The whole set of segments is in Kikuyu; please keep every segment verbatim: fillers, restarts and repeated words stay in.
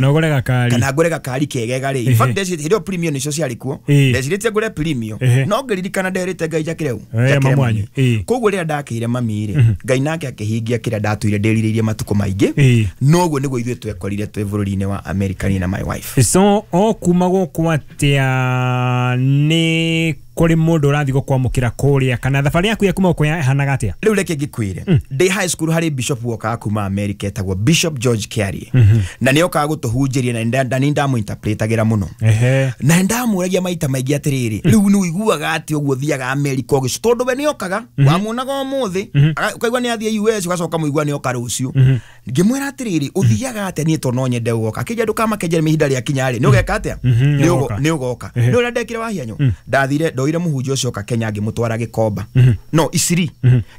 Na ũgũre gakari. Kana ngũre gakari kegega rĩ. In fact, ndecirĩtie hĩndĩ ĩyo premium nĩcio ciarĩ kuo. Ĩĩ. Ndecirĩtie ngũre premium. Ehe. No ngĩririkana nderĩte Ngai njakĩre ũ? Eh, Njakĩre mamu wanyu. mami. Ĩĩ. Koguo rĩrĩa ndakĩire mami rĩ, Ngai nake akĩhingia kĩrĩa ndatũire ndĩrirĩirie matukũ maingĩ. Ĩĩ. Noguo nĩguo ithuĩ twekorire twĩ bũrũri-inĩ wa America, niĩ na my wife. So o kuma gũkũ atĩa, nĩ kũrĩ mũndũ ũrathiĩ gũkwamũkĩra kũrĩa, kana thabarĩ yaku ya kuma gũkũ yahanaga atĩa? Rĩu reke ngĩkwĩre, ndĩ high school harĩ bishop wokaga kuma America etagwo Bishop George Kiarie, na nĩ okaga gũtũhunjĩria, na nĩ nda- ndamũinterpretagĩra mũno. Ehe. Na ndamũragia maita maingĩ atĩrĩrĩ, rĩu nĩ ũiguaga atĩ ũguo thiaga America ũgĩcu, tondũ we nĩokaga wamuonaga ũmũthĩ, aga- ũkaigua nĩ athiĩ U S, ũgacoka mũigua nĩ oka rũciũ. Ngĩmwĩra atĩrĩrĩ, ũthiaga atĩa? Niĩ to no nyende gũgoka. Akĩnjia, ndũkamakenjere, ihinda rĩakinya rĩ, nĩ ũgeka atĩa? Mhm, Nĩ ũgo- nĩũgoka. Nĩ ũgoka. Ehe. Nĩ ũrĩa ndekire wahianyũ, ndathire ndoire mũhunjia ũcio oka Kenya, ngĩmũtwara Gĩkomba, no Isiri,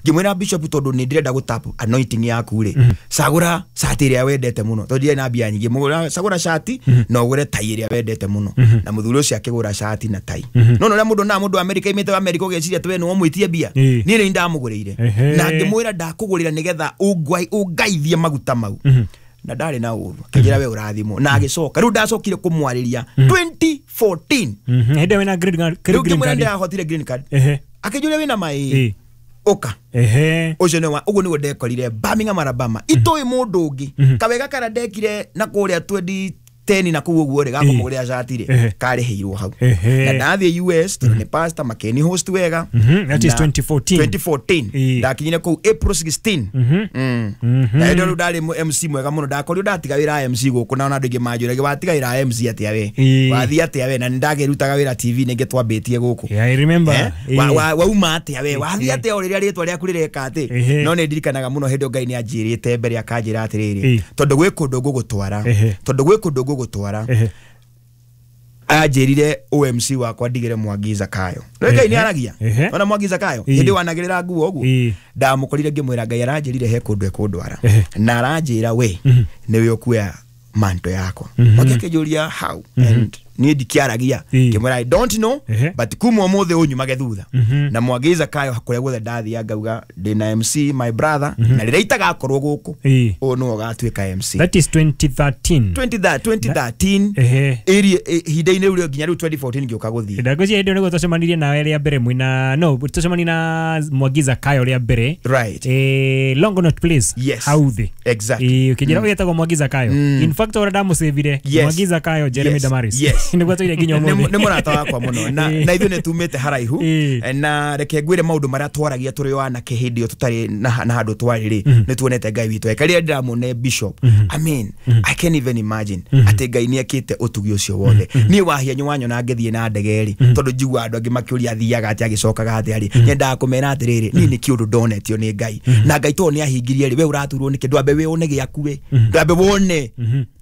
ngĩmwĩra, "Bishop, tondũ nĩ ndĩrenda gũtap anointing yaku rĩ, cagũra cati ĩrĩa wendete mũno," tondũ ndirĩ na mbia nyingĩ. "Mũgũra- cagũra cati na ũgũre tai ĩrĩa wendete mũno." Na mũthuri ũcio akĩgũra cati na tai. No no ũrĩa mũndũ na mũndũ wa America imĩte wa America ũgeciria atĩ we nĩ wamwĩtie mbia. Ĩĩ. Niĩ nĩ ndamũgũrĩire Ehe. na ngĩmwĩra, "Ndakũgũrĩra nĩgetha ũngwai- ũngaithie maguta mau." Na ndarĩ na ũru, akĩnjĩra, "We ũrathimwo." Na agĩcoka, rĩu ndacokire kũmwarĩria twenty fourteen. Mhm, hĩndĩ ĩyo wĩna green card- Rĩu green ngĩmwĩra card. ndĩrahotire green card. Ehe. Akĩnjũria, "Wĩna maĩ?" Ĩĩ. "Ũka." Ehe. Ũcio nĩ wa ũguo nĩguo ndekorire Birmingham, Alabama, itoĩ mũndũ ũngĩ. Kawega karĩa ndekire na kũrĩa twenty ten na kũu ũguo rĩ, gakũmũgũrĩra cati rĩ, Ehe. karĩhĩirwo hau. Ehe. Na ndathiĩ U S, tondũ nĩ pastor, makĩni host wega. Mhm, that is Na twenty fourteen. twenty fourteen. Ĩĩ. Ndakinyire kũu April sixteen. Mm. Na hĩndĩ ĩyo rĩu ndarĩ mũ- M C mwega mũno. Ndakorirwo ndatiga wĩra wa M C gũkũ, na ona andũ aingĩ manjũragia, "Watiga wĩra wa M C atĩa we? Ĩĩ. Wathiĩ atĩa we?" Na nĩ ndakĩrutaga wĩra T V nĩngĩ twambĩtie gũkũ. Yeah, I remember. Eh? Ĩĩ. Wa- wa- wauma atĩa we? Wathiĩ atĩa o rĩrĩa rĩtwa rĩaku rĩreka atĩ? Ehe. No nĩ ndirikanaga mũno hĩndĩ ĩyo Ngai nĩ anjĩrĩte mbere, akanjĩra atĩrĩrĩ, Ĩĩ. tondũ gwĩ kũndũ ngũgũtwara, Ehe. tondũ gwĩ kũndũ ngũgũtwara. Ehe. Anjĩrire O M C wakwa ndigĩre Mwangi Zakayo. Rĩu Ngai nĩ aragia. Ehe. Ona Mwangi Zakayo Ĩĩ. hĩndĩ ĩyo wanagĩrĩra nguo ũguo, Ĩĩ. ndamũkorire ngĩmwĩra, "Ngai aranjĩrire he kũndũ ekũndwara, Ehe. na aranjĩra we nĩwe ũkuoya manto yakwa." Mhm. Mwangi akĩnjũria, "How?" And niĩ ndikĩaragia. Ĩĩ. Ngĩmwĩra, "I don't know, Ehe. but kuma ũmũthĩ ũnyumage thutha." Mhm. Na Mwangi Zakayo kũrĩa guothe ndathiaga ngauga ndĩna M C, my brother, na rĩrĩa itagakorwo gũkũ, Ĩĩ. ũyũ nĩwe ũgatuĩka M C. That is twenty thirteen. twenty thirteen. Ehe. Ĩri ihinda-inĩ rĩu rĩo nginya rĩu twenty fourteen ngĩũka gũthiĩ. Ndagwĩciria hĩndĩ ĩyo nĩguo twacemanirie nawe rĩa mbere, mwĩna no twacemanirie na Mwangi Zakayo rĩa mbere. Right. Eh, Longonot Place. Yes. Hau thĩ. Exactly. Ĩĩ, ũkĩnjĩra ũyũ etagwo Mwangi Zakayo. In fact, ũrĩa ndamũcĩvire, Yes. Mwangi Zakayo Jeremy Yes. Damaris. Yes. Nĩguo tũire nginya nĩ ũmũthĩ. nĩ mũrata wakwa mũno, na Ĩĩ. na ithuĩ nĩ tumĩte haraihu. Ĩĩ. Na reke ngwĩre, maũndũ marĩa twaragia tũrĩ o anake hĩndĩ ĩyo tũtarĩ na na handũ twarĩ rĩ, nĩ tuonete Ngai witũ eka. Rĩrĩa ndĩramwone bishop, I mean, I can't even imagine atĩ Ngai nĩ ekĩte ũtugi ũcio wothe. Niĩ wahianyũ wanyona ngĩthiĩ na ndege rĩ, tondũ njiguaga andũ angĩ makĩũria athiaga atĩa, agĩcokaga atĩa rĩ, nyendaga kũmera atĩrĩrĩ, niĩ nĩ kĩũndũ ndonetio nĩ Ngai, na Ngai tondũ nĩ ahingirie rĩ, we ũraturwo nĩkĩ? Ndwambe wĩone gĩaku, we ndwambe wone,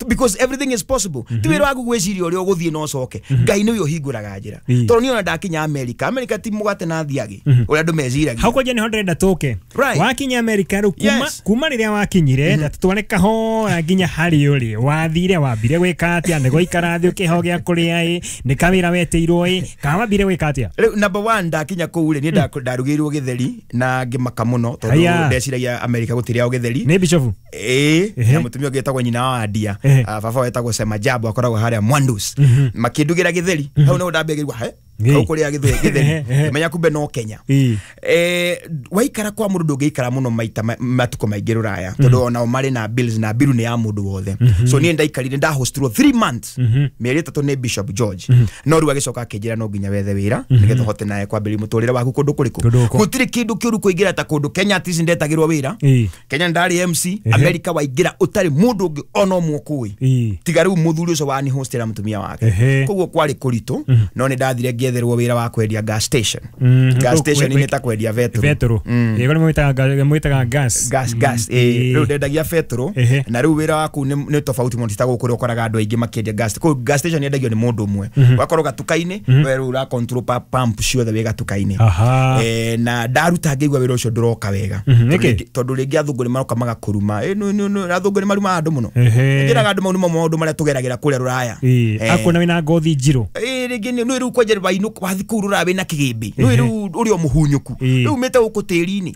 because everything is possible. Ti wĩra waku gwĩciria ũrĩa ũgũthiĩ na ũcoke. Ngai nĩwe ũhingũraga njĩra. Ĩĩ. Tondũ niĩ ona ndakinya America, America ti mũgate na thiagĩ ũrĩa andũ meciragia. Hau kwanja nĩho ndĩrenda tũke. Right. Wakinya America rĩu, kuma Yes. kuma rĩrĩa wakinyire, na tũtware kahora nginya harĩ ũrĩ wathire, wambire gwĩka atĩa? Nĩ gũikara thĩ ũkĩheo gĩa kũrĩa ĩ, nĩ kawĩra wetĩirwo ĩ, kana wambire gwĩka atĩa? Rĩu number one, ndakinya kũu rĩ, niĩ nda- ndarugĩirwo gĩtheri na ngĩmaka mũno, tondũ Haya. ndeciragia America gũtirĩagwo gĩtheri. Nĩ bishofu? Ĩĩ. Ehe. Na mũtumia ũngĩ etagwo nyina wa Andia. Ehe. Ah, baba wetagwo Sema Jabo, akoragwo harĩa Mwandus, makĩndugĩra gĩtheri. Hau nĩho ndambĩrĩria he Ĩĩ. hau kũrĩa gĩtheri gĩtheri. Ehe, ehe. Ngĩmenya kumbe no Kenya. Ĩĩ. Eh, waikara kwa mũndũ, ndũngĩikara mũno maita ma- matukũ maingĩ rũraya, tondũ onao marĩ na bills, na biru nĩ ya mũndũ wothe. So niĩ ndaikarire, ndahostirwo three months, mĩeri ĩtatũ, nĩ Bishop George. No rĩu agĩcoka akĩnjĩra, "No nginya wethe wĩra nĩgetha ũhote nawe kwambĩrĩria mũtũrĩre waku kũndũ kũrĩkũ." Kũndũ gũkũ. Gũtirĩ kĩndũ kĩũru kũingĩra ta kũndũ Kenya at least ndetagĩrwo wĩra. Ĩĩ. Kenya ndarĩ M C. Ehe. America waingĩra ũtarĩ mũndũ ũngĩ ona ũmwe ũkũĩ, Ĩĩ. tiga rĩu mũthuri ũcio wani hostera mũtumia wake. Ehe. Koguo kwarĩ kũritũ, no nĩ ndathire ngĩetherwo wĩra wa kwendia gas station. Mm, Gas kũ- station kwe- nĩ ta kwendia betũrũ. Betũrũ. Ĩĩ, kũrĩa mwĩtaga ga- mwĩtaga gas. Gas, gas. Mm, Ĩĩ, ĩĩ. rĩu ndendagia betũrũ. Ehe. Na rĩu wĩra waku nĩ nĩ tofauti mũno, ti ta gũkũ ũrĩa ũkoraga andũ aingĩ makĩendia gas. Kũu gas station yendagio nĩ mũndũ ũmwe, ũgakorwo gatuka-inĩ, we rĩu ũra control pa pump ciothe wĩ gatuka-inĩ. Aha. Eh, na ndaruta ngĩigua wĩra ũcio ndũroka wega. Mhm, Tondũ nĩkĩ? rĩngĩ- tondũ rĩngĩ athũngũ nĩ maroka magakũruma. Eh, nũ- nũ- nũ, athũngũ nĩ marumaga andũ mũno. Ehe. Njĩraga andũ mau nĩmo maũndũ marĩa tũgeragĩra kũrĩa rũraya. Ĩĩ, Eh. akuona wĩna ngothi njirũ. Ĩĩ, rĩngĩ nĩ nĩ rĩu kwanja Wainũka wathi kũu rũraya wĩna kĩgĩmbĩ, nĩũĩ rĩu ũrĩ o mũhunyũku, rĩu umĩte gũkũ tĩri-inĩ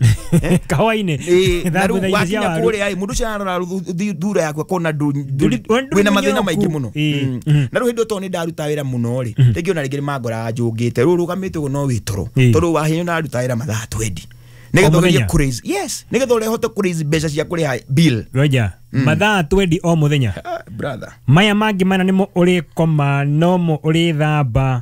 kahũa-inĩ, na rĩu wakinya kũrĩa ĩ mũndũ ũcio ararora thura yaku akona wĩna mathĩna maingĩ mũno. Na rĩu hĩndĩ ĩyo tondũ nĩ ndaruta wĩra mũno rĩ, rĩngĩ ona rĩngĩ nĩ mangoraga njũngĩte, rĩu ũrũgamĩte ũguo no wĩ toro, tondũ wahinya ndaruta wĩra mathaa twenty nĩgetha ũgerie kũ raise, yes, nĩgetha ũhote kũ raise mbeca cia kũrĩha bill. Roger, mathaa twenty o mũthenya, brother, maya mangĩ mana nĩmo ũrĩkoma nomo ũrĩthamba,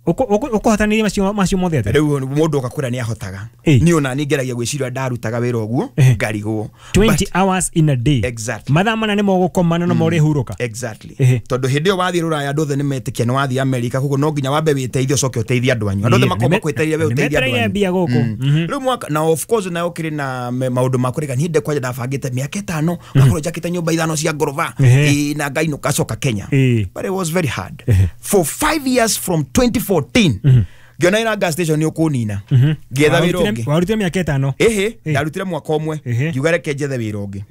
ũkũhotanĩria macio macio mothe atĩa? Rĩu mũndũ ũkakwĩra nĩ ahotaga, niĩ ona niĩ ngeragia gwĩciria ndarutaga wĩra ũguo ngarigwo. Twenty hours in a day. Exactly. Mathaa mana nĩmo ũgũkoma na nomo ũrĩhurũka. Exactly. Tondũ hĩndĩ ĩyo wathiĩ rũraya andũ othe nĩmetĩkia nĩ wathiĩ Amerika, koguo no nginya wambe wĩteithie ũcoke ũteithie andũ anyu. Andũ othe makorwo makwĩteithia we ũteithie andũ anyu. Mbia gũkũ. Rĩu mwaka na of course nayo ũkĩrĩ na maũndũ ma kũrega, niĩ kwanja ndabangĩte mĩaka ĩtano ngakorwo njakĩte nyũmba ithano cia ngoroba na ngainũka coka Kenya. But it was very hard. For five years from twenty fourteen ngiona ina gas station ni ukunina ngietha wira ungi. Warutire miaka ĩtano? Ehe, ndarutire mwaka ũmwe ngiuga reke njethe wira ungi.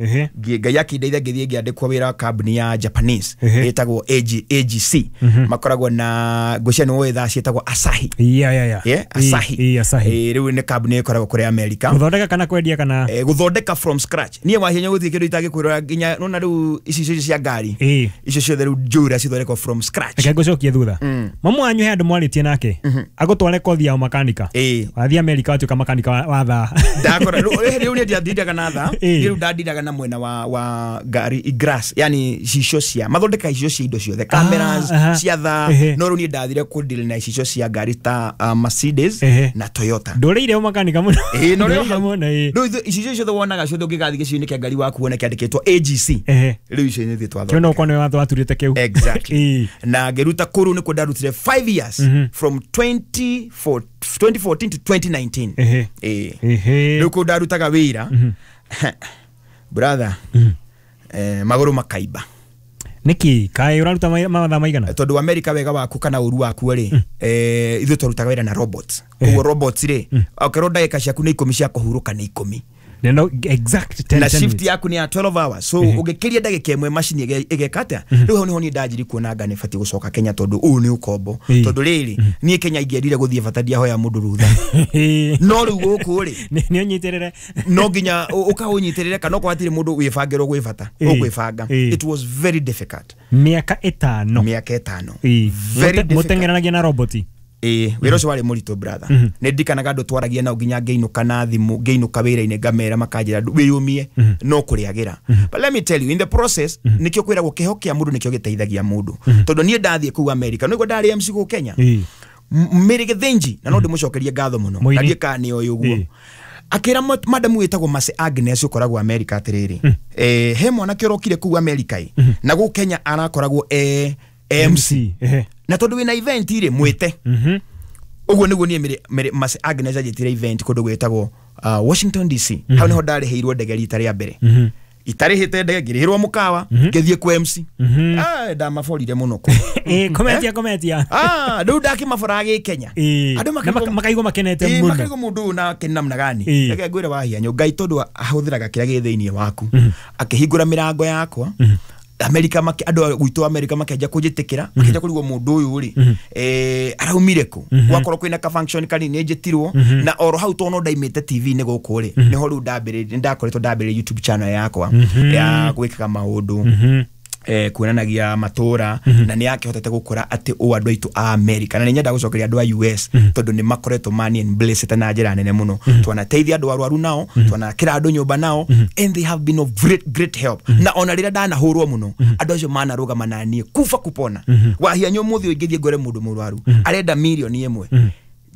Ngai akindeithia ngithie ngiandikwo wira wa kambuni ya Japanese ĩtagwo A G C, makoragwo na ngwĩciria nĩ ũĩ thaa ciĩtagwo Asahi. Yeah, yeah, yeah. Asahi. Asahi. Rĩu nĩ kambuni ĩkoragwo kũrĩa America. Gũthondeka kana kwendia kana gũthondeka from scratch. Niĩ wahinya gũthiĩ kĩndũ itangĩkwĩrora nginya nona rĩu ici cia ngari icio ciothe rĩu njũra cithondekwo from scratch. Reke ngũcokie thutha. Mamu wanyu he andũ mwarĩtie nake agũtware kothi ya makanika, wathiĩ America watuĩka makanika wa thaa. Ndakora rĩu niĩ ndiathindaga na thaa, rĩu ndandindaga na mwena wa wa ngari grass, yani icicio cia mathondeka icicio cia indo ciothe, cameras cia thaa, no rĩu niĩ ndathire kũ deal na icicio cia ngari ta Mercedes na Toyota. Ndũrĩire makanika mũno. Ĩĩ, no rĩu icicio ciothe wonaga ciothe ũngĩgathiĩ gĩcigo-inĩ kĩa ngari waku wone kĩandĩkĩtwo A G C, rĩu icio nĩ ithuĩ twathondeka. Kĩu no ũkorwo nĩwe waturĩte kĩu. Exactly. Na ngĩruta kũu nĩkuo ndarutire five years from twenty fourteen to twenty nineteen. Eh. Rĩu kũu ndarutaga wĩra, brother, eh, magũrũ makaimba. Nĩkĩ? Kaĩ ũraruta mathaa maigana? Tondũ America wega waku kana ũru waku rĩ, eh, ithuĩ twarutaga wĩra na robots. Koguo robots rĩ, okorwo ndagĩka ciaku nĩ ikũmi cia kũhurũka nĩ ikũmi. No, exact ten, na ten shift minutes. Yaku ni ya twelve hours, so ũngĩkĩria ndagĩka ĩmwe macini ĩgeka atĩa? Rĩu hau niho niĩ ndanjirie kuona anga nĩ batiĩ gũcoka Kenya tondũ ũyũ nĩ ũkombo, tondũ rĩrĩ niĩ Kenya ingĩendire gũthiĩ bata ndiahoya mũndũ rũtha, no rĩu gũkũ rĩ nĩ ũnyitĩrĩre, no nginya ũkaũnyitĩrĩre kana okorwo hatirĩ mũndũ wĩbangĩrwo gwĩ bata ũkwĩbanga. It was very difficult. Mĩaka ĩtano. Mĩaka ĩtano. Mũteng'eranagia na roboti. Eh, wĩra ũcio warĩ mũritũ brother. Nĩ ndirikanaga andũ twaragia nao nginya ngĩinũka na thimũ, ngĩinũka wĩra-inĩ ngamera makanjĩra wĩyũmie no kũrĩagĩra. But let me tell you, in the process nĩkĩo kwĩragwo kĩho kĩa mũndũ nĩkĩo gĩteithagia mũndũ. Tondũ niĩ ndathiĩ kũu America, nĩguo ndarĩ M C gũkũ Kenya. Mary Githinji, na no ndĩmũcokerie ngatho mũno. Na ndiĩ kana nĩ oĩ ũguo. Akĩra madamu wĩtagwo Mercy Agnes ũkoragwo America atĩrĩrĩ, eh, he mwanake ũrokire kũu America ĩ, na gũkũ Kenya arakoragwo e M C. Na tondu wina event ire mwite uguo niguo nie mere Mercy Agnes anjitire event kundu gwitagwo Washington D C. Hau niho ndarĩhĩirwo ndege rita rĩa mbere, itarĩhĩte ndege ngĩrĩhĩrwo mũkawa ngĩthiĩ kwa M C. Ah, ndamaborire mũno kũ. Eh, kometia kometia. Ah, rĩu ndakĩmabora gĩ Kenya. Andũ makaigua makenete mũno. Makaigua mũndũ ũyũ nake namna gani. Reke ngwĩre wahianyũ Ngai tondũ ahũthĩraga kĩrĩa gĩ thĩinĩ waku akĩhingũra mĩrango yakwa. America maki andũ gwitũ America makenja kũnjĩtĩkĩra, makenja kũrigwo mũndũ ũyũ rĩ eh araumire kũ, gwakorwo kwĩna ka function kanini njĩtirwo na oro hau tono ndaimĩte T V nĩ gũkũ rĩ nĩho rĩu ndambĩrĩirie, ndakoretwo ndambĩrĩirie YouTube channel yakwa ya gwĩkaga maũndũ eh kuonanagia matũra, na nĩ yakĩhotete gũkũra atĩ ũ andũ aitũ a America, na nĩ nyenda gũcokeria andũ a U S tondũ nĩ makoretwo mani and blessed na njĩra nene mũno. Twanateithia andũ arwaru nao, twanakĩra andũ nyũmba nao, and they have been of great great help. Na ona rĩrĩa ndanahũrwo mũno andũ acio manarũgama na niĩ kuba kupona. Wahianyũ mũthĩ ũngĩthiĩ ngore mũndũ mũrwaru arenda mirioni ĩmwe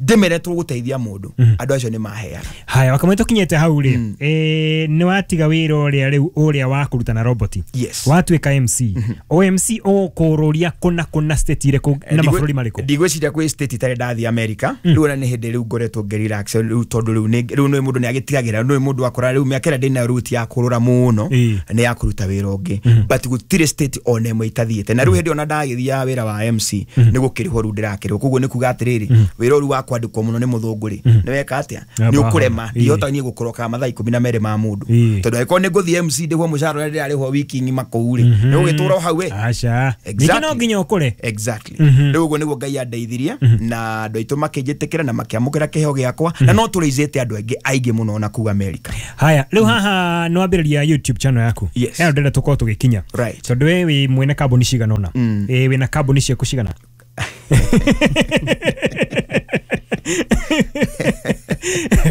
ndĩmere tũgũteithia mũndũ, andũ acio nĩ maheaga. Haya, wakamwe tũkinyĩte hau rĩ, eh nĩ watiga wĩra ũrĩa rĩu ũrĩa wa kũruta na roboti, watuĩka M C. O M C ũkũrũria kũna kũna state irĩkũ na mabũrũri marĩkũ? Ndigwĩciria kwĩ state itarĩ ndathiĩ America. Rĩu ona nĩ hĩndĩ rĩu ngoretwo ngĩrelax rĩu tondũ rĩu rĩu nĩ mũndũ nĩ agĩtigagĩra, nĩ mũndũ akora rĩu mĩaka ĩrĩa ndĩnayo rĩu ti ya kũrũra mũno, nĩ ya kũruta wĩra ũngĩ, but gũtirĩ state ona ĩmwe itathiĩte. Na rĩu hĩndĩ ona ndagĩthiaga wĩra wa M C nĩ gũkĩrĩhwo rĩu ndĩrakĩrĩhwo, koguo nĩ kuga atĩrĩrĩ wĩra ũrĩa wa kwandĩkwo mũno nĩ mũthũngũ rĩ nĩ weka atĩa nĩ ũkũrema ndihota niĩ gũkoroka mathaa ikũmi na merĩ ma mũndũ tondũ angĩkorwo nĩ ngũthiĩ M C ndĩhwo mũcara ũrĩa ndĩrarĩhwo wiki ng'ima kũu rĩ nĩ ũgĩtũra o hau we aca ningĩ no nginya ũkũre exactly rĩu ũguo nĩguo Ngai andeithirie na andũ aitũ makĩnjĩtĩkĩra na makĩamũkĩra kĩheo gĩakwa na no tũrĩizĩte andũ aingĩ aingĩ mũno na kũu America. Haya rĩu haha nĩ wambĩrĩria YouTube channel yaku Yes. ĩno ndĩrenda tũkorwo tũgĩkinya Right. tondũ we wĩ mwene kambuni cigana ũna ĩ wĩna kambuni ciaku cigana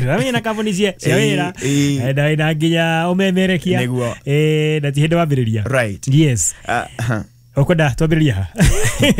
Ramenya kambuni cia cia wĩra Ĩ, ĩ. na wĩna nginya ũmemerekia Nĩguo. ĩ na ti hĩndĩ wambĩrĩria Right. yes Ah, aha. ũkwenda twambĩrĩria ha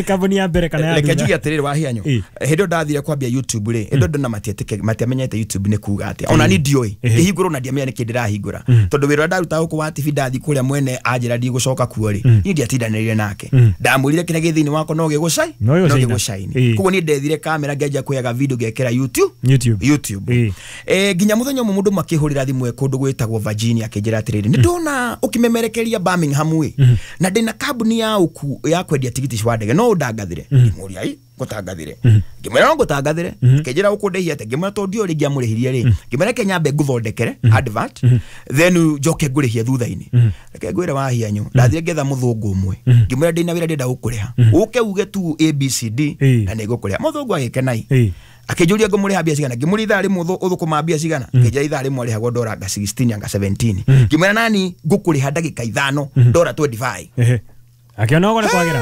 kambuni ya mbere kana ya reke thutha njuge atĩrĩrĩ wahianyo Ĩ. hĩndĩ ĩyo ndathire kwambia YouTube rĩ hĩndĩ ĩyo ndona matietĩke matiamenyete YouTube nĩ kuga atĩa ona ni ndiũĩ ngĩhingũra ona ndiamenya nĩkĩ ndĩrahingũra tondũ wĩra ũrĩa ndarutaga gũkũ wa T V ndathiĩ kũrĩa mwene anjĩra ndigũcoka kuo rĩ niĩ ndiatindanĩrire nake ndamwĩrire kĩrĩa gĩ thĩinĩ wakwa no gĩgũcai No gĩgũcaina. gĩgũcaini Ĩ. koguo niĩ ndethire kamera ngĩanjia kuoyaga video ngekĩra YouTube YouTube YouTube Ĩ. eh nginya muthenya ũmwe mũndũ makĩhũrĩra thimũ e kũndũ gwĩtagwo Virginia akĩnjĩra atĩrĩrĩ nĩ ndona ũkĩmemerekeria Birmingham ĩ na ndĩna kambuni ya ũku ya kwendia tigiti wa ndege no ũndangathĩre ngĩmũria ĩ ngũtangathĩre ngĩmwĩra no ngũtangathĩre akĩnjĩra ũkũndĩhia atĩa ngĩmwĩra tondũ ndiũĩ rĩngĩ amũrĩhirie rĩ ngĩmwĩra reke nyambe ngũthondekere advert then njoke ngũrĩhie thutha-inĩ reke ngwĩre wahianyo ndathire ngetha mũthũngũ ũmwe ngĩmwĩra ndĩna wĩra ndĩrenda gũkũrĩha ũke uge tu A B C D Ĩ. na nĩngũkũrĩha mũthũngũ agĩkenai Ĩ. akĩnjũria ngũmũrĩha mbia cigana ngĩmũria ithaa rĩmwe ũthũ- ũthũkũma mbia cigana akĩnjĩra ithaa rĩmwe arĩhagwo dora anga sixteen anga seventeen ngĩmwĩra nani ngũkũrĩha ndagĩka ithano dora twenty-five Ehe. Akĩona ũguo nĩ kwagĩra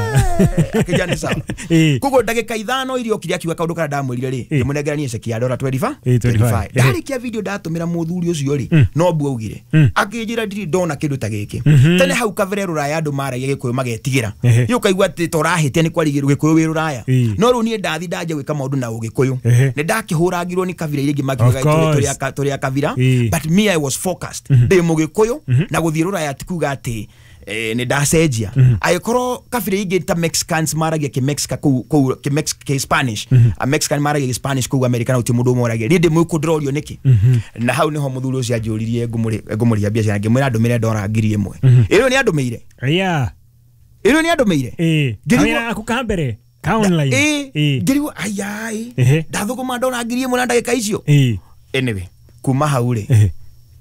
akĩnjĩra nĩ sawa Ĩ. koguo ndagĩka ithano iria okire akiuga kaũndũ karĩa ndamwĩrire rĩ Ĩ. ngĩmũnengera niĩ ceki ya dora twenty-five Ĩ, twenty-five. ndarĩkia video ndatũmĩra mũthuri ũcio rĩ no mbu augire akĩnjĩra ndirĩ ndona kĩndũ ta gĩkĩ tene hau kabere rũraya andũ maragia gĩkũyũ magetigĩra Ehe. rĩu ũkaigua atĩ ta ũrahĩtia nĩ kwarigĩrwo gĩkũyũ wĩ rũraya Ĩ. no rĩu niĩ ndathi ndanjia gwĩka maũndũ na ũgĩkũyũ Ehe. nĩ ndakĩhũrangirwo nĩ kabira iria ingĩ makiugaga Of tũrĩ- course. tũrĩ a- tũrĩ a kabira Ĩ. but me I was focused ndĩ mũgĩkũyũ na gũthiĩ rũraya ti kuga atĩ eh, nĩ ndacenjia angĩkorwo kabira ingĩ ta Mexicans maragia kĩ-Mexica kũu kũu kĩ-Mex- kĩ-Spanish a Mexican maragia kĩ-Spanish kũu America na gũtirĩ mũndũ ũmwe ũragia niĩ ndĩ mũgĩkũyũ ndĩrorio nĩkĩ na hau nĩho mũthuri ũcio anjũririe ngũmũrĩ- ngũmũrĩha mbia cigana ngĩmwĩra ndũmĩre dora ngiri ĩmwe ĩyo nĩ andũmĩire Yeah. ĩyo nĩ andũmĩire Ĩ. Ngĩrigwo- Kawĩra gaku ka mbere ka online ĩ Ĩ. ngĩrigwo ayai Ehe. ndathũkũma dora ngiri ĩmwe na ndagĩka icio Ĩ. anyway kuma hau rĩ Ehe.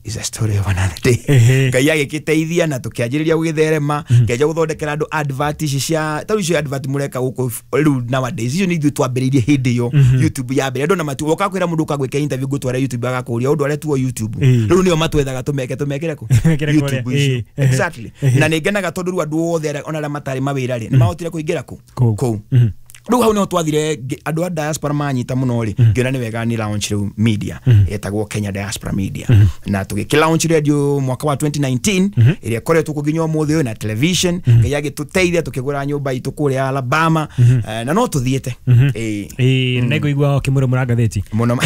is a story of another day Ehe. Ngai agĩgĩteithia na tũkĩanjĩrĩria gũgĩtherema ngĩanjia gũthondekera andũ advert ici cia tarĩu icio advert mũreka gũkũ rĩu nowadays icio nĩ ithuĩ twambĩrĩirie hĩndĩ ĩyo YouTube ya mbere andũ na matu woka kwĩra mũndũ ũkagwĩka interview ngũtware YouTube agakũria ũndũ arĩa tuo YouTube Ĩ. rĩu nĩo matwethaga tũmeke tũmekĩre kũ Mekĩre kũrĩa. YouTube icio Ĩ. Ehe. exactly Ehe. na nĩ ngenaga tondũ rĩu andũ othe arĩa- ona arĩa matarĩ mawĩra rĩ nĩ mahotire kũingĩra kũ Kũu. kũu Mhm. rĩu hau nĩho twathire ngĩ- andũ a diaspora manyita mũno rĩ ngĩona nĩ wega nĩ launch rĩu media ĩtagwo Kenya Diaspora Media na tũgĩkĩ launch radio mwaka wa twenty nineteen ĩrĩa ĩkoretwo kuo nginya ũmũthĩ ũyũ na television Ngai agĩtũteithia tũkĩgũra nyũmba itũ kũrĩa Alabama eh, na no tũthiĩte Ĩĩ. Ĩ, nĩngũigua ũkĩmũrũmũra ngathĩti mũno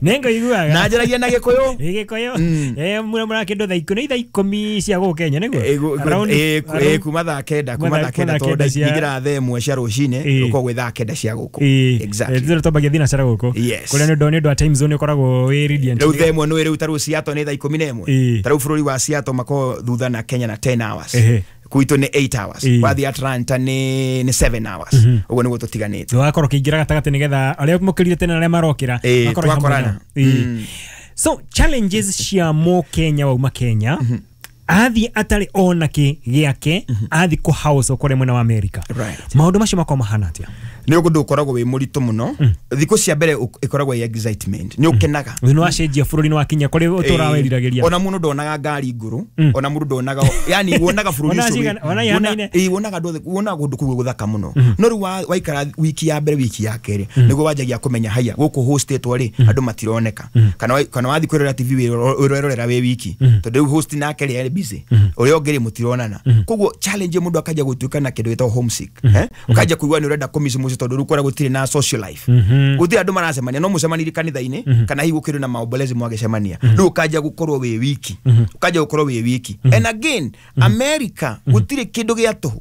nĩngũiguaga na njaragia na gĩkũyũ Ĩ, gĩkũyũ Eh, mũramũra kĩndũ thaa ikũmi nĩ thaa ikũmi cia gũkũ Kenya nĩguo Ĩ, gu- gu- Around- ĩ, ku- ĩ, around- kuma thaa kenda kuma Kuma thaa kenda thaa kenda tondũ cia- ingĩra thaa ĩmwe cia rũcinĩ Ĩ. ũkoragwo gwĩ thaa kenda cia gũkũ Ĩ, Exactly. eh, ithuĩ twambagia thinacara gũkũ Yes. kũrĩa nĩ ũndũ nĩ ũndũ wa time zone ũkoragwo wĩ radiant rĩu thaa ĩmwe nĩ rĩu ta rĩu Seattle nĩ thaa ikũmi na ĩmwe Ĩ. ta rĩu bũrũri wa Seattle makoragwo thutha na Kenya na ten hours Ehe. gwitũ nĩ eight hours Ĩ. wathiĩ Atlanta nĩ nĩ seven hours ũguo nĩguo tũtiganĩte wakorwo ũkĩingĩra gatagatĩ nĩgetha arĩa mokĩrire tene na arĩa marokĩra Ĩ, makorwo hamwe twakorana. nao. Ĩ. So challenges cia mũkenya wauma Kenya athiĩ atarĩ ona kĩ gĩake athiĩ kũ house kũrĩa mwena wa America Right. maũndũ macio makorwo mahana atĩa nĩ ũndũ ũkoragwo wĩ mũritũ mũno thikũ cia mbere ũ- ĩkoragwo ĩ excitement nĩ ũkenaga nĩ wacenjia bũrũri nĩ wakinya kũrĩa ũtũraga weriragĩria ona mũndũ ndonaga ngari ngũrũ ona mũndũ ndonaga yani wonaga bũrũri Ona ũcio wĩ- cigana- ona ihanaine. wona- ĩĩ, wonaga andũ othe wonaga kũndũ kũu gũthaka mũno no rĩu wa- waikara wiki ya mbere wiki ya kerĩ nĩguo wanjagia kũmenya haya gũkũ hostĩtwo rĩ andũ matironeka kana wa- kana wathiĩ kwĩrorera T V wĩrorera wĩ wiki tondũ rĩu host nake rĩ arĩ busy ũrĩa ũngĩ rĩ mũtironana koguo challenge mũndũ akanjia gũtuĩka na kĩndũ gĩtagwo homesick eh? ũkanjia kũigua nĩ ũrenda kũmiss mũciĩ tondũ rĩu kũrĩa gũtirĩ na social life gũtirĩ andũ maracemania no mũcemanirie kanitha-inĩ kana hihi gũkĩrĩ na maombolezi mwagĩcemania rĩu ũkanjia gũkorwo wĩ wiki ũkanjia gũkorwo wĩ wiki and again America gũtirĩ kĩndũ gĩa tũhũ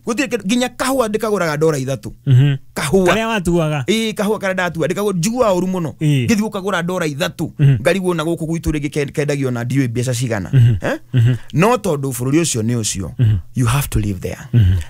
Gũtirĩ kĩndũ nginya kahũa ndĩkagũraga ndora ithatũ. Kahũa karĩa watuaga. Ĩĩ kahũa karĩa ndatua ndĩkagũra njiguaga ũru mũno. Ngĩthiĩ gũkagũra ndora ithatũ ngarigwo na gũkũ gwitũ rĩngĩ kendagio na ndiũĩ mbeca cigana. Eh? No tondũ bũrũri ũcio nĩ ũcio, you have to live there.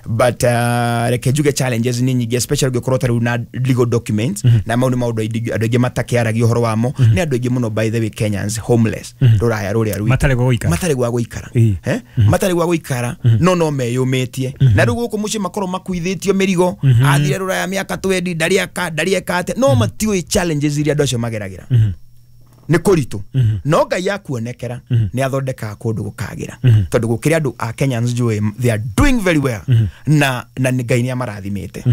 But uh, reke njuge challenges nĩ nyingĩ, especially ũngĩkorwo ta rĩu na legal documents na mau nĩ maũndũ aingĩ andũ aingĩ matakĩaragia ũhoro wamo. Nĩ andũ aingĩ mũno by the way Kenyans homeless rũraya rũrĩa rwitũ matarĩ gwa gũikara, matarĩ gwa gũikara, eh matarĩ gwa gũikara no no meyũmĩtie na rĩu gũkũ mũciĩ makorwo makuithĩtio mĩrigo athire rũraya mĩaka twendi ndarĩ aka ndarĩ eka atĩa no matiũĩ challenges iria andũ acio mageragĩra nĩ kũritũ no Ngai akuonekera nĩ athondekaga kũndũ gũkagĩra tondũ gũkĩrĩ andũ a Kenyans njũĩ they are doing very well na na Ngai nĩ amarathimĩte.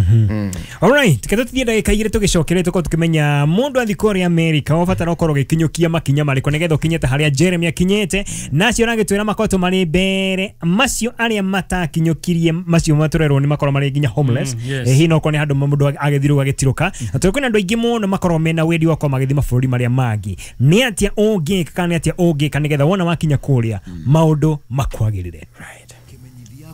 All right, kete tuthiĩ ndagĩka igĩrĩ tũgĩcokere tũkorwo tũkĩmenya mũndũ athiĩ kũrĩa America ũbatara ũkorwo ũgĩkinyũkia makinya marĩkũ nĩgetha ũkinyĩte harĩa Jeremy akinyĩte na acio aragĩtwĩra makoretwo marĩ mbere macio arĩa matakinyũkirie macio matũrerwo nĩ makorwo marĩ nginya homeless. Hihi no korwo nĩ handũ mũndũ agĩthirwo agĩtirũka na tondũ kwĩna andũ aingĩ mũno makorwo mena wendi wa gũkorwo magĩthiĩ mabũrũri marĩa mangĩ. Nĩ atĩa ũngĩka kana nĩ atĩa ũngĩka nĩgetha wona wakinya kũrĩa maũndũ makwagĩrĩre. Right.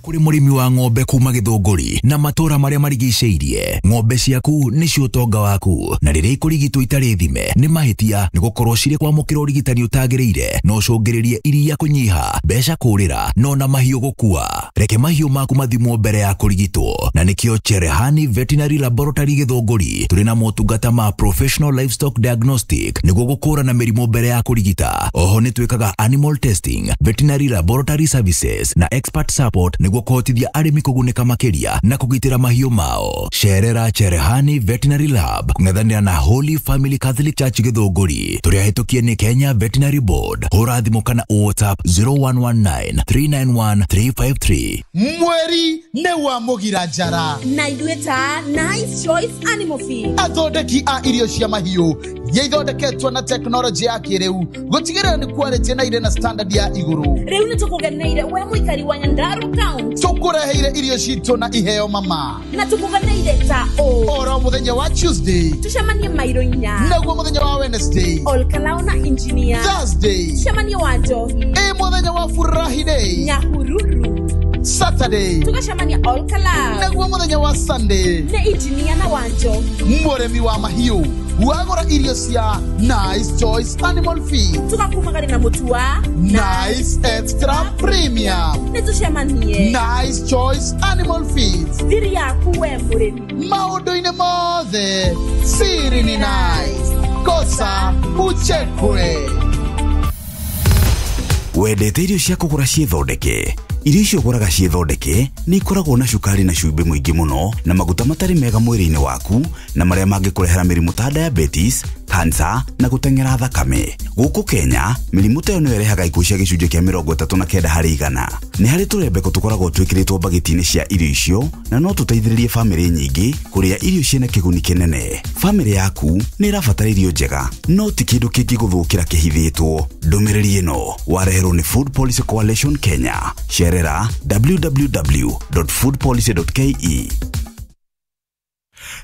Kũrĩ mũrĩmi wa ng'ombe kuma Gĩthũngũri na matũra marĩa marigicĩirie, ng'ombe ciaku nĩcio ũtonga waku na rĩrĩa ikũrigitwo itarĩ thime nĩ mahĩtia nĩ gũkorwo cirĩ kwamũkĩra ũrigitani ũtagĩrĩire no ũcũngĩrĩrie iria kũnyiha, mbeca kũrĩra no na mahiũ gũkua. Reke mahiũ maku mathimwo mbere ya kũrigitwo na nĩkĩo Cherehani Veterinary Laboratory Gĩthũngũri tũrĩ na motungata ma professional livestock diagnostic nĩguo gũkũrana mĩrimũ mbere ya kũrigita. Oho nĩ twĩkaga animal testing, veterinary laboratory services na expert support nĩguo kũhotithia arĩmi kũgunĩka makĩria na kũgitĩra mahiũ mao. Cerera Cherehani Veterinary Lab kũng'ethanĩra na Holy Family Catholic Church Gĩthũngũri. Tũrĩ ahĩtũkie nĩ Kenya Veterinary Board. Hũra thimũ kana WhatsApp zero one one nine three nine one three five three. Mweri nĩ wa mũgira njara na ithuĩ ta Nice Choice Animal Feed, athondeki a irio cia mahiũ iria ithondeketwo na tekinoronjĩ ya kĩrĩu gũtigĩrĩra nĩ quality na irĩ na standard ya igũrũ. Rĩu nĩ tũkũgeneire we mũikari wa Nyandarua County, tũkũreheire irio citũ na iheo mama na tũkũgeneire ta ũ oro mũthenya wa Tuesday tũcemanie mairo inya naguo mũthenya wa Wednesday Olkalao na engineer Thursday tũcemanie wa Njohi ĩ mũthenya wa Furahi Day Nyahururu Saturday tũgacemania Olkalao naguo mũthenya wa Sunday nĩ engineer na wa Njohi mũrĩmi wa mahiũ wagũra irio cia Nice Choice Animal Feed tũgakumagari na mũtu wa Nice Extra Premium nĩ tũcemanie Nice Choice Animal Feed thiri yaku we mũrĩmi maũndũ-inĩ mothe siri ni nice kosa uchekwe. Wendete irio cia kũgũra ciĩthondeke? Irio icio ũgũraga ciĩthondeke nĩ ikoragwo na cukari na cumbĩ mũingĩ mũno na maguta matarĩ mega mwĩrĩ-inĩ waku na marĩa mangĩkũrehera mĩrimũ ta diabetes, cancer na gũteng'era thakame. Gũkũ Kenya, mĩrimũ ta ĩyo nĩyo ĩrehaga ikuũ cia gĩcunjĩ kĩa mĩrongo ĩtatũ na kenda harĩ igana. Nĩ harĩ tũrembeko tũkoragwo twĩkĩrĩtwo mbagiti-inĩ cia irio icio na no tũteithĩrĩrie bamĩrĩ nyingĩ kũrĩa irio ciĩna kĩguni kĩnene. Bamĩrĩ yaku nĩ ĩrabatara irio njega, no ti kĩndũ kĩngĩgũthũkĩra kĩhithĩtwo. Ndũmĩrĩri ĩno wareherwo nĩ Food Policy Coalition Kenya. Cerera w w w dot food policy dot k e.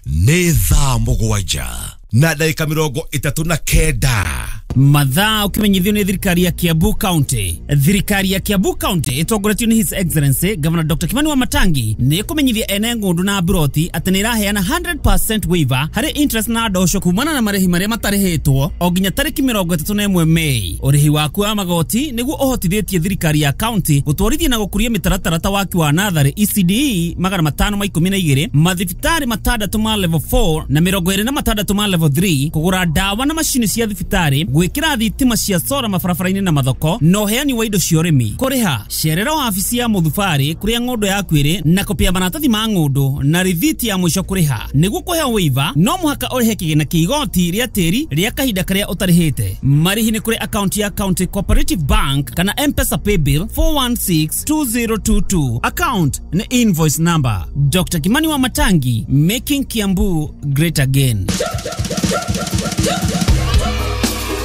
Nĩ thaa mũgwanja na ndagĩka mĩrongo ĩtatũ na kenda. Mathaa ũkĩmenyithio nĩ thirikari ya Kiambu County. Thirikari ya Kiambu County ĩtongoretio nĩ His Excellency Governor Doctor Kimani Wamatangi nĩ ĩkũmenyithia ene ng'ũndũ na mburoti atĩ nĩ ĩraheana hundred percent waiver harĩ interest na ndosho kumana na marĩhi marĩa matarĩhĩtwo o nginya tarĩki mĩrongo ĩtatũ na ĩmwe Mei. Ũrĩhi waku wa magoti nĩguo ũhotithĩtie thirikari ya county gũtwarithia na gũkũria mĩtaratara ta waki wa natharĩ E C D E magana matano ma ikũmi na igĩrĩ, mathibitarĩ matandatũ ma level four na mĩrongo ĩrĩ na matandatũ ma level three, kũgũra ndawa na macini cia thibitarĩ, gwĩkĩra thitima cia sora mabarabara-inĩ na mathoko na ũheani wa indo cia ũrĩmi. Kũrĩha cerera wabici ya mũthubarĩ kũrĩa ng'ũndũ yaku ĩrĩ na kopi ya maratathi ma ng'ũndũ na rithiti ya mũico kũrĩha. Nĩguo kũheo waiver no mũhaka ũrĩhe kĩgĩna kĩa igoti rĩa tĩri rĩa kahinda karĩa ũtarĩhĩte. Marĩhi nĩ kũrĩ akaunti ya County Cooperative Bank kana M-Pesa Paybill four one six two zero two two. Account nĩ invoice number. Doctor Kimani Wamatangi, making Kiambu great again.